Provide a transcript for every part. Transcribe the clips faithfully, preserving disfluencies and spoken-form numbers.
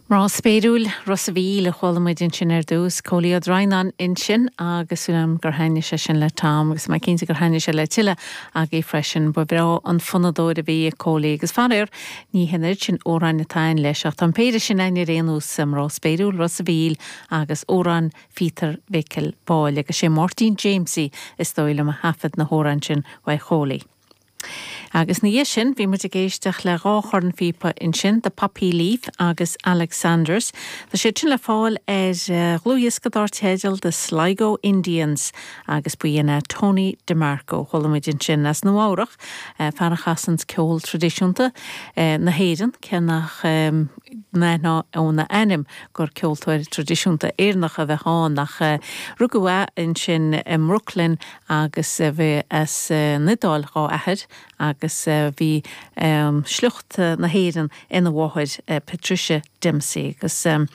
Mná spéiriúil Ros a' Mhíl a chuala muid ansin ar dtús, Cóilí Ó Droighneáin ansin agus um, gur thaitnigh sé sin le Tom agus mé cinnte gur thaitnigh sé le tuilleadh agaibh freisin ba bhreá an fonnadóir a bhí ag Cóilí agus faraor ní hin sin amhráin atá leis ach tá péire sin againn ar aon nós Mná spéiriúil Ros a' Mhíl agus amhrán Phíotair Mhicil Báille agus sé Máirtín Jamesie is dóigh liom a thaifead na hamhráin sin uaidh Chóilí. Agus ina dhiaidh sin bhí muid ag éisteacht le dhá chornphíopa ansin The Poppy Leaf agus Alexanders. Tá sé sin le fáil ar uh, dhlúthdhiosca dar teideal The Sligo Indians agus buíon Tony DeMarco chuala muid ansin as Nua-Eabhrac uh, fear a chasann ceol traidisiúnta uh, na hÉireann cé nach um, ná óna ainm gur ceoltóir traidisiúnta Éireannach a bheith ann ach uh, rugadh é ansin i mBrooklyn agus uh, bhí as uh, an Iodáil dá athair agus uh, bhí um, sliocht na hÉireann ina mháthair uh, Patricia Dempsey agus um,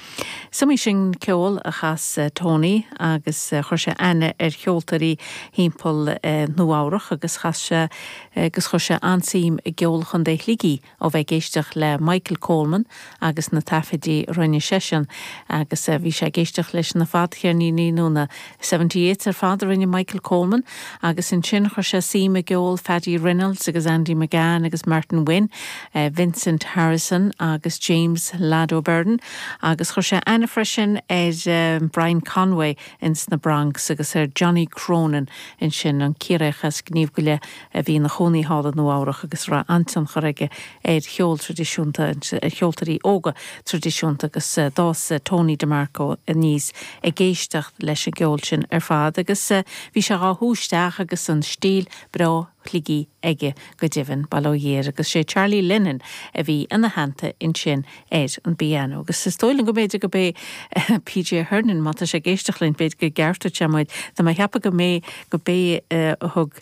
Sumi sin ceol a chas uh, Tony agus uh, chuir sé aithne ar cheoltóirí timpeall uh, Nua-Eabhrac agus chas sé agus chuir sé an-suim i gceol Chontae Shligigh ó bheith ag éisteacht le Michael Coleman agus na taifidí rinne seisean agus uh, bhí sé ag éisteacht leis na fadcheirníní nó na seventy eight ar fad a rinne Michael Coleman agus ansin chuir sé suim i gceol Paddy Reynolds agus Andy McGann agus Martin Wynne, uh, Vincent Harrison agus James Lad O'Byrne agus chuir sé aithne freisin ar um, Brian Conway ins na Bronx agus ar Johnny Cronin ansin an Ciarraíoch as Gníomh Goile a bhí ina chónaí thall i Nua-Eabhrac agus raibh an-tionchar aige ar cheol traidisiúnta ar cheoltóirí óga traidisiúnta agus uh, d'fhás uh, Tony DeMarco aníos ag éisteacht leis an gceol sin ar fad agus uh, bhí sé á shú isteach agus an stíl breá Shligigh aige go deimhin bail ó Dhia air agus sé Charlie Lennon a bhí ina theannta ansin ar an bpianó. agus is dóigh liom go mb'fhéidir go bé P J Hernan má tá sé ag éisteacht linn b'fhéidir go gceartódh sé muid Tá mé ag ceapadh go mé go bé a thug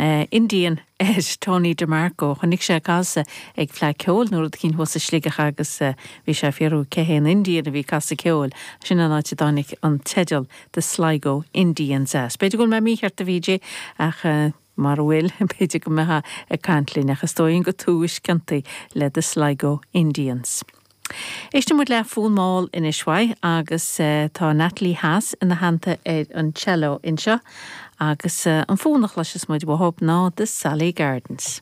uh, Indian ar Tony DeMarco chonaic sé casadh ag Fleadh Cheoil nó rud éicint thuas i Sligeach agus uh, bhí sé fiú cé hé an Indian a bhí ag casadh ceoil sin an áit a dtáinig an teideal The Sligo Indians as. B'fhéidir go bhfuil mé mícheart a P J ach uh, mar bhfuil b'fhéidir go mbeifeá ag caint linn ach is dóigh go tuisceantaí le The Sligo Indians. Éistfidh muid le fonn mall anois uaidh agus uh, tá Natalie Haas ina theannta ar an cello anseo agus uh, an fonn a chloisfeas muid uathu ná The Sally Gardens.